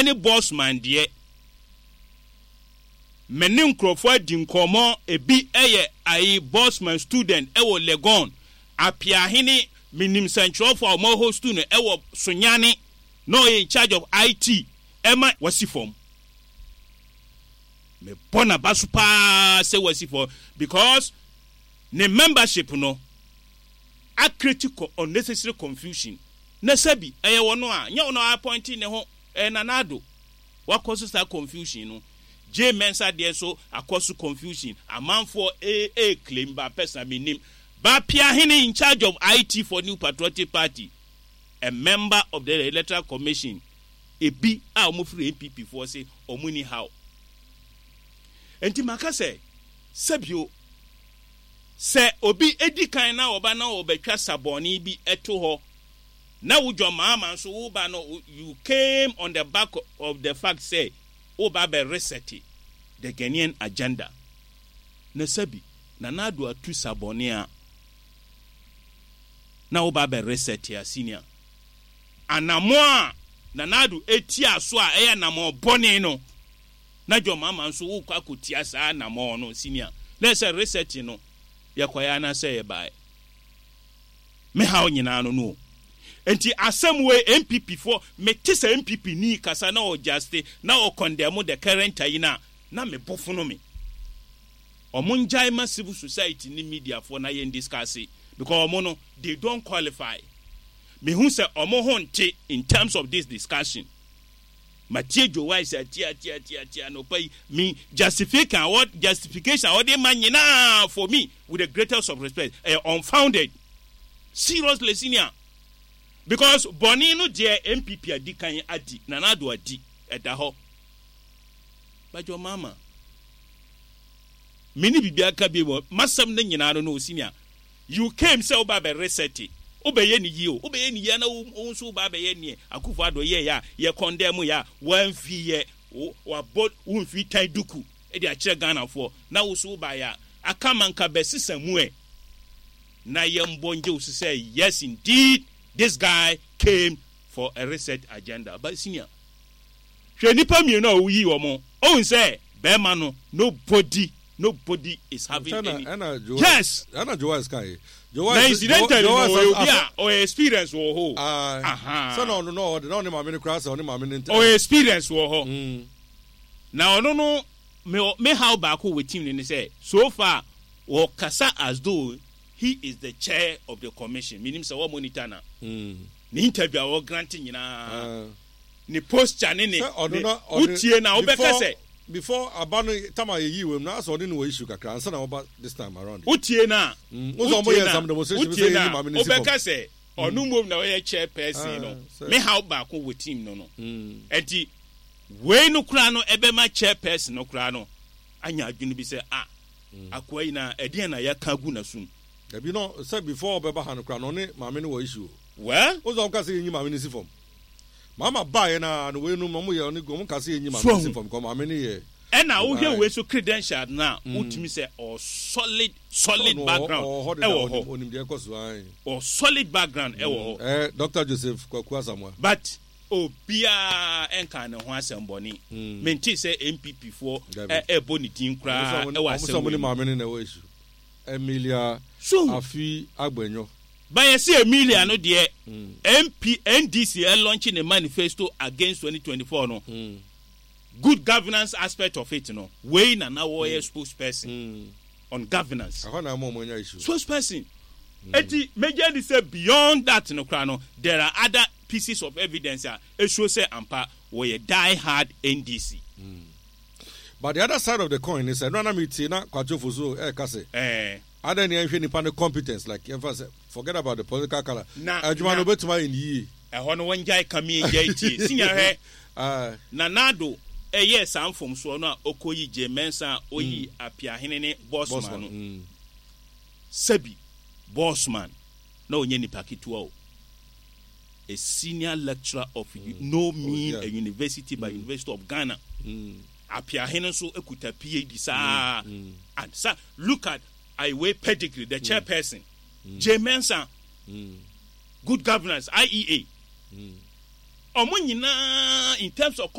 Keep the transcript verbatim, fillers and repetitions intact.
Ɛne Bossman deɛ, me ne nkurɔfoɔ adi nkɔmmɔ. Ebi ɛyɛ ayi, Bossman student ɛwɔ Legon. Apiahene, menim nsɛntwerɛfoɔ a wɔn host no ɛwɔ Sunyani na ɔyɛ in charge of I T ɛma wasi fam. Mebɔ n'aba so paa sɛ wasi fam because ne membership no acreate unnecessary confusion. Na sɛbi, ɛyɛ wɔn a nyɛ wɔn a appoint ne ho, ɛyɛ Nana Addo wakɔ so saa confusion no. Jean Mensa deɛ nso akɔ so confusion. Amanfoɔ ee ee claim ba person mi nim Appiahene, in charge of I T for New Patriotic Party, a member of the Electoral Commission, ebi a wɔn firi N P P foɔ se wɔn ni haw. Nti maka sɛ, sɛbio, sɛ obi edi kan na ɔba na ɔbɛtwa sabɔni bi ɛto hɔ na wodwa maama nso woba no, you came on the back of the fact say woba bɛ reset the Ghanaian agenda. Na sɛbi, Nana Addo atu sabɔni a na woba bɛ reset a, senior, anamɔ a Nana Addo etia so a ɛyɛ anamɔ bɔne no, na John Mahama nso wokɔ akɔtia saa anamɔ no, senior, na ɛsɛ reset no yɛkɔyɛ anaasɛ yɛbaeɛ. Me haw nyinaa no no nti asɛm wei, N P P foɔ, mete sɛ N P P ni kasa na ɔjuste na ɔcondemn the current ayi no a, na me bɔfo no me ɔmo ngyae ma civil society ne media foɔ na yɛn discuss, because ɔmo no, they don't qualify. Mehu sɛ ɔmo ho nte in terms of this discussion. Matie Joe Wise atie atie atie atie anɔpa yi. Me justification a wɔ justification a wɔde ma nyinaa, for me, with the greatest of respect, ɛyɛ unfounded, seriously, senior, because bɔnne no deɛ, N P P adi kan adi, Nana Addo adi, ɛda hɔ bàjɔ mama me ne biribi aka bi wɔ masɛm no nyinaa no no Senior, you came sɛ woba bɛ reset, wobɛyɛ ne yie o, wobɛyɛ ne yie na wo nso woba bɛyɛ neɛ Akufo Addo yɛ yɛ a yɛ condemn yɛ a wamfi yɛ wabɔ wo mfi tan duku de akyerɛ Ghanafoɔ na wo so woba yɛ a aka ma nka bɛsesa mu ɛ na yɛmbɔ ngye wo so sɛ yes, indeed, this guy came for a reset agenda. But senior, hwɛ nipa mmienu a woyi wɔn ohun sɛ bɛrima no, nobody nobody is having any ɛna yes. Ɛna Joas ka yi. Na incidentally no, ɔyɛ obi a ɔyɛ experience wɔ hɔ. Sɛ na ɔno na ɔde na ɔne maame no kura sɛ ɔne maame no ntɛ. Ɔyɛ experience wɔ hɔ na ɔno no, me me haw baako wɔ team no ne sɛ so far wɔkasa as though he is the chair of the commission. Minim sɛ wɔn monitor na ne interview a wɔ grant nyinaa, ne posture ne ne ne wotie na wobɛka sɛ before aba no tam a yɛyi wɔ mu na asɛ ɔne no wɔ issue kakra ansa na ɔba this time around. Wotie na wotie na wotie na wobɛka sɛ ɔno mmom na ɔyɛ chairperson no. Me haw baako wɔ team no no nti wei no koraa no, ɛbɛma chairperson no koraa no anya adwene bi sɛ, ah, akoa yi na ɛdeɛn na yɛka gu n'asom? Dabi no, sɛ before ɔbɛba ha no koraa no, ɔne maame no wɔ issue o. Well. O sɛ ɔka sɛ yɛnyi maame no si fam. Mama baeɛ na no wei no, ɔmo yɛ ɔne ɔmo ka sɛ yɛnyi maame no si fam kɔ maame no yɛ. Ɛna wohwɛ wei so credential na wotumi sɛ ɔ solid solid background ɛwɔ hɔ. Onim deɛ ɛkɔ so ayi. Ɔ solid background ɛwɔ hɔ. Ɛɛ Doctor Joseph Kwaku Asamoah. But obiara ɛnka ne ho asɛm bɔne. Mente sɛ N P P foɔ ɛbɔ ne din koraa ɛwɔ asɛm wei mu. Ɔmo sɛ ɔmo ne maame no na ɛwɔ issue. Emilia so Afi Agbenyo. Bayɛ sɛ Emilia no deɛ, M P N D C ɛlaunch ne manifesto against twenty twenty-four no, mm. good governance aspect of it no, wei na na wɔyɛ mm. spokesperson mm. on governance. Ɛhɔ na ama ɔmo anya issue. Spokesperson. Eti megye di sɛ beyond that no koraa no, there are other pieces of evidence a esuo sɛ ampa wɔyɛ die hard N D C. Mm. But the other side of the coin is ɛno anam tie na Kwatwofo so ɛɛka sɛ ɛɛ adan ni ɛnhwɛ nipa no competence, like yɛnfa sɛ forget about the political colour. Na adwuma no obetuma ayɛ ne yie. Ɛhɔ no wɔn gyae kame gyae tie sinya hwɛ. Nana Addo ɛyɛ saa mfomsoɔ no a ɔkɔyi Jean Mensa a ɔyi mm. Apiahene ne Bossman no mm. Sɛbi, Bossman na ɔnyɛ nipa ketewa o, a senior lecturer of mm. no mean oh, yeah. a university by mm. University of Ghana mm. Apiahene nso ekuta P H D saa mm. and sa look at aiwe pedigree, the mm. chairperson mm. Jean Mensa mm. good governance, I E A, ɔmo nyinaa in terms of